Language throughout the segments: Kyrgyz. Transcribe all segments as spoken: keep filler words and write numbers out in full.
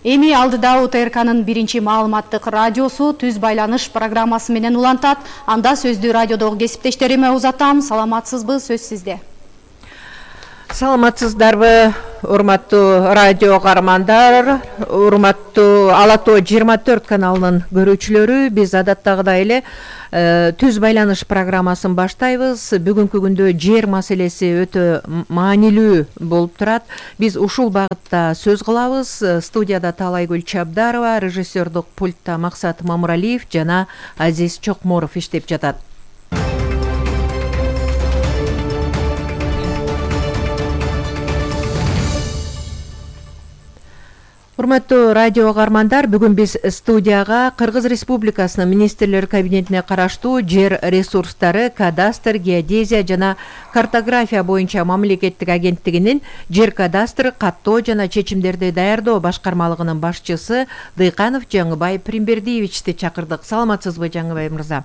Эми алдыда УТРКнын биринчи маалыматтык радиосу түз байланыш программасы менен улантат. Анда сөздү радиодогу кесиптештериме узатам. Саламатсызбы, сөз сизде. Саламатсыздарбы, урматтуу радио каармандар, урматтуу Ала Тоо жыйырма төрт каналынын көрүүчүлөрү, биз адаттагыдай эле түз байланыш программасын баштайбыз. Бүгүнкү күндө жер маселеси өтө маанилүү болуп турат. Биз ушул багытта сөз кылабыз. Студияда Таалайгүл Чабдарова, режиссердук пультта Максат Мамыралиев жана Азиз Чокморов иштеп жатат. Урматтуу радио каармандар, бүгүн биз студияга Кыргыз Республикасынын министрлер кабинетине караштуу жер ресурстары, кадастр, геодезия жана картография боюнча мамлекеттик агенттигинин жер кадастры, каттоо жана чечимдерди даярдоо башкармалыгынын башчысы Дыйканов Жаңыбай Примбердиевичти чакырдык. Саламатсызбы, Жаңыбай мырза?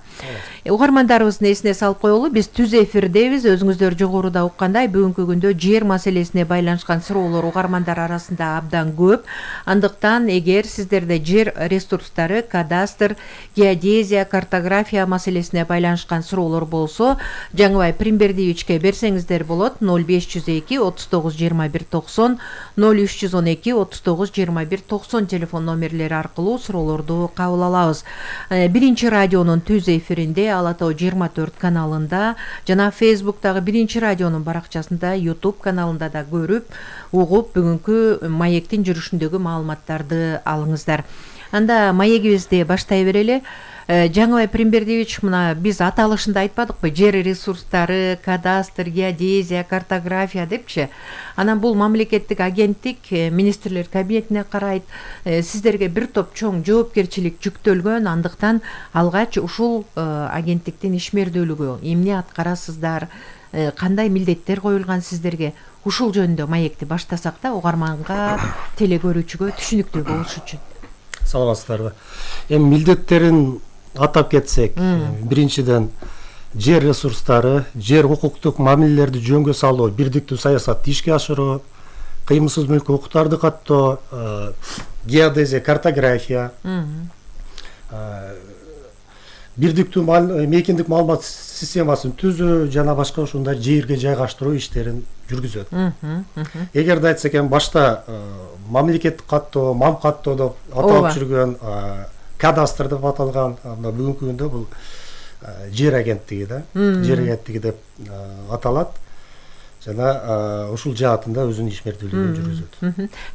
Угармандарыбыздын эсине салып коелу, биз түз эфирдебиз. Өзүңүздөр жогоруда уккандай, бүгүнкү күндө жер маселесине байланышкан суроолор угармандар арасында абдан көп. Андыктан эгер сиздерде жер ресурстары, кадастр, геодезия, картография маселесине байланышкан суроолор болсо, Жаңыбай Примбердиевичке берсеңиздер болот. ноль беш жүз эки отуз тогуз жыйырма бир токсон, ноль үч жүз он эки отуз тогуз жыйырма бир токсон телефон номерлери аркылуу суроолорду кабыл алабыз. Биринчи радионун түз эфиринде Ала Тоо жыйырма төрт каналында жана Фейсбуктагы биринчи радионун баракчасында, YouTube каналында да көрүп, угуп, бүгүнкү маектин жүрүшүндөгү маалыматтарды алыңыздар. Анда маегибизди баштай берели. Жаңыбай Примбердиевич, мына биз аталышында айтпадыкпы, жер ресурстары, кадастр, геодезия, картография депчи. Анан бул мамлекеттик агенттик министрлер кабинетине карайт. Сиздерге бир топ чоң жоопкерчилик жүктөлгөн, андыктан алгач ушул агенттиктин ишмердүүлүгү эмне аткарасыздар, кандай милдеттер коюлган сиздерге? Ушул жөнүндө маекти баштасак да, угарманга, телекөрүүчүгө түшүнүктүү болуш үчүн. Саламатсыздарбы. Эми милдеттерин атап кетсек, биринчиден жер ресурстары, жер укуктук мамилелерди жөнгө салуу, бирдиктүү саясатты ишке ашыруу, кыймылсыз мүлк укуктарды каттоо, геодезия, картография, бирдиктүү мейкиндик маалымат системасын түзүү жана башка ушундай жерге жайгаштыруу иштерин жүргүзөт. Эгерде айтсак эми башта мамлекеттик каттоо, мам каттоо деп аталып жүргөн, кадастр деп аталган, бүгүнкү күндө бул жер агенттиги да, жер агенттиги деп аталат. Жана ушул жаатында өзүнүн ишмердүүлүгүн жүргүзөт.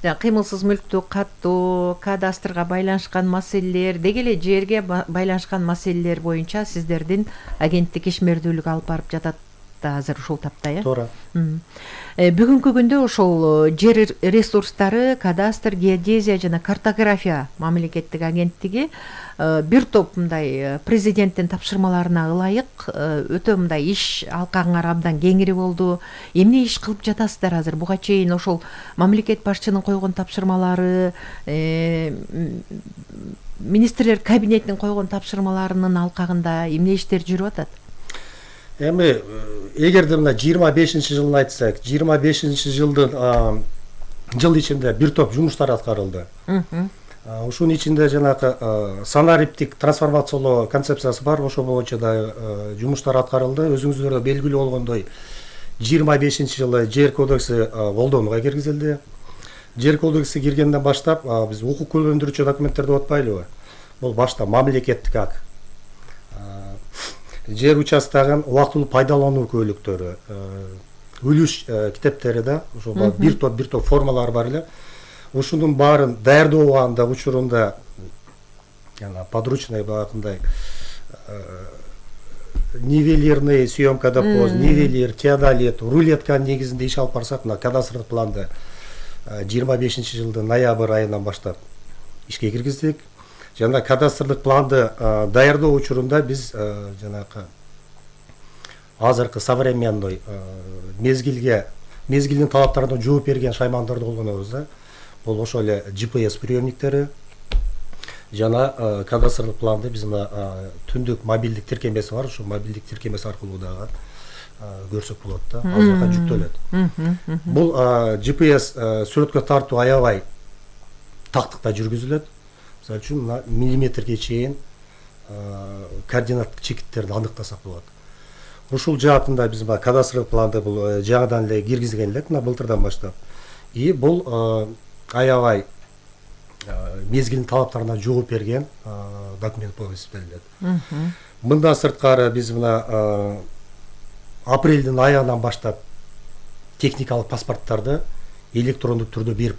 Жана кыймылсыз мүлктү каттоо, кадастрга байланышкан маселелер, деги эле жерге байланышкан маселелер боюнча сиздердин агенттик ишмердүүлүк алып барып жатат да азыр ушул тапта, э? Туура. Бүгүнкү күндө ошол жер ресурстары, кадастр, геодезия жана картография мамлекеттик агенттиги бир топ мындай президенттин тапшырмаларына ылайык өтө мындай иш алкаңар абдан кеңири болду. Эмне иш кылып жатасыздар азыр? Буга чейин ошол мамлекет башчынын койгон тапшырмалары, министрлер кабинетинин койгон тапшырмаларынын алкагында эмне иштер жүрүп атат? Эми эгерде мына жыйырма бешинчи жылын айтсак, жыйырма бешинчи жылдын жыл ичинде бир топ жумуштар аткарылды. Ушунун ичинде жанагы санариптик трансформациялоо концепциясы бар, ошол боюнча да жумуштар аткарылды. Өзүңүздөргө белгилүү болгондой, жыйырма бешинчи жылы жер кодекси колдонууга киргизилди. Жер кодекси киргенден баштап биз укук көндүрүүчү документтер деп атпайлыбы? Бул башта мамлекеттик акт, жер участогун убактылуу пайдалануу көйлөктөрү, үлүш китептери да, ошо бир топ бир топ формалар бар эле. Ушунун баарын даярдооганда учурунда жана подручный багатындай нивелирный съемка деп коебуз, нивелир, теодолит, рулетка негизинде иш алып барсак, мына кадастрлык планды жыйырма бешинчи жылдын ноябрь айынан баштап ишке киргиздик. Жана кадастрлык планды даярдоо учурунда биз жанагы азыркы современный мезгилге, мезгилдин талаптарына жооп берген шаймандарды колдонобуз да. Бул ошол эле джи пи эс приемниктери жана кадастрлык планды биз мына түндүк мобилдик тиркемеси бар, ошол мобилдик тиркемеси аркылуу дагы көрсөк болот да, ал жака жүктөлөт. Бул джи пи эс сүрөткө тартуу аябай тактыкта жүргүзүлөт. Мисалы үчүн мына миллиметрге чейин координаттык чекиттерди аныктасак болот. Ушул жаатында биз мына кадастрлык планды бул жаңыдан эле киргизген элек, мына былтырдан баштап. И бул аябай мезгилдин талаптарына жооп берген документ болуп эсептелет. Мындан сырткары биз мына апрелдин айынан баштап техникалык паспорттарды электрондук түрдө берип